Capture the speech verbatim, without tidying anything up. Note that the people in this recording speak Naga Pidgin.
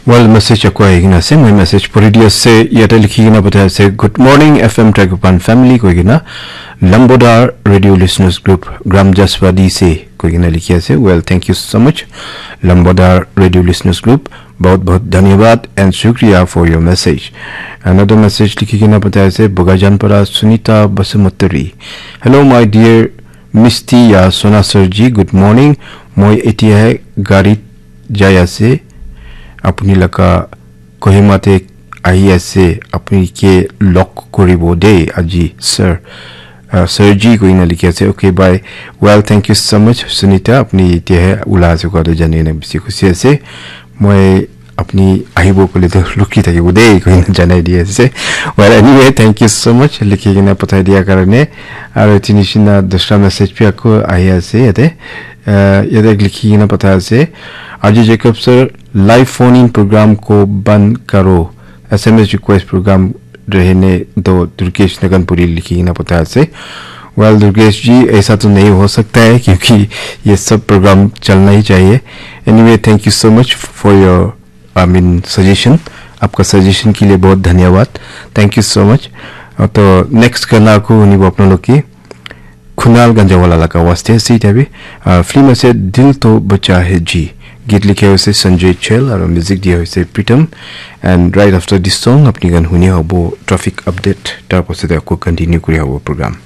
Well, message ako ahi kena ase, moi message puri di ase, yate likhi kena pathai ase, "Good morning, F M Tragopan family," koi kena, "Lambodar Radio Listeners Group, Gram Jaswadi se," koi kena likhi ase. Well, thank you so much, Lambodar Radio Listeners Group. Bahut bahut dhanyabad and shukriya for your message. Another message likhi kena pathai ase, Bogajan para Sunita Basumatary. "Hello, my dear Misty ya Sona sir ji, good morning. Moi etiahe garit jai ase. Apuni laga Kohima te ahi ase. Apuni ke log koribo de aji, sir." Uh, sir ji koi na likhi ase. Okay, bye. Well, thank you so much, Sunita. Apuni etiahe ula ase koa to jani kena bishi khushi ase. Moi apuni ahibo kole to lukhi thakibo de koi na janai di ase. Well, anyway, thank you so much likhi kena pathai dia karone. Aru etu nishina dusra message bhi ako ahi ase yate. Uh, yate likhi kena pathai ase, "Arju Jacob sir, live phone in program ko band karo. S M S request program rehne do, Durgesh Naganpuri," likhi kena pathai ase. Well, Durgesh ji, aisa to nahi ho sakta hai, kyunki ye sab program chalna hi chahiye. Anyway, thank you so much for your, I mean, suggestion. Aapka suggestion ke liye bahut dhanyawad. Thank you so much. Uh, to next gana ako hunibo apnaloke Kunal Ganjawala laga waste ase etiya bi. Uh, film ase Dil To Bacha Hai Ji. Git likhe hoise Sanjay Chel aru music dia hoise Pritam. And right after this song, apni khan huni hobo traffic update. Tar pasate ako continue kuri hobo program.